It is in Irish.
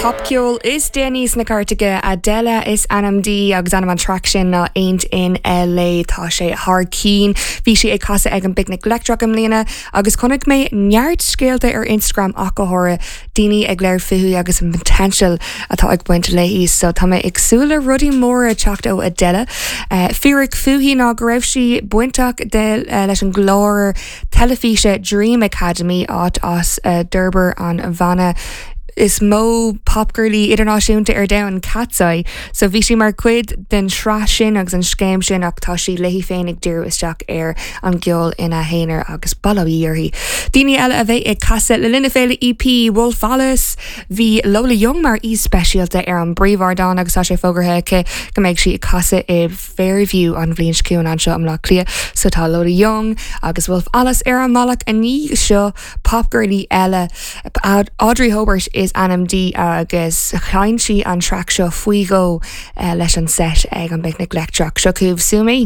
Popcheol is déanaí sna cairteacha, Adele is ainm di agus ainm an traic sin ná Ain't in LA. Tá sé thar cinn. Bhí sí ag casadh ag an bPicnic Leictreach i mbliana agus chonaic mé neart scéalta ar Instagram ach go háirithe, daoine ag labhairt fúithi agus an potential atá ag baint léi. So tá mé ag súil le rudaí móra teacht ó Adele. Fíric fúithi ná go raibh sí bainteach de leis an gclár teilifíse Dream Academy, áit as a d'fhorbair an bhanna is mó popghirlí idirnáisiúnta ar domhan, Katseye. So bhí sí mar chuid den sraith sin agus an scéim sin ach tá sí léi féin ag díriú isteach ar an gceol ina haonar agus bail ó Dhia uirthi. Daoine eile a bheidh ag casadh le linn na féile EP, Wolf Alice, Bhí Lola Young mar aoi speisialta ar an bpríomhardán agus tá sé fógartha aici go mbeidh sí ag casadh i Fairview an bhliain seo chugainn anseo i mBleá Cliath. So tá Lola Young agus Wolf Alice ar an mbealach i ndiaidh seo popghirlí eile Audrey Hobert is ainm di agus sheinn sí an traic seo faoi dhó leis an set ag an bPicnic Leictreach. Seo chugaibh Sue Me.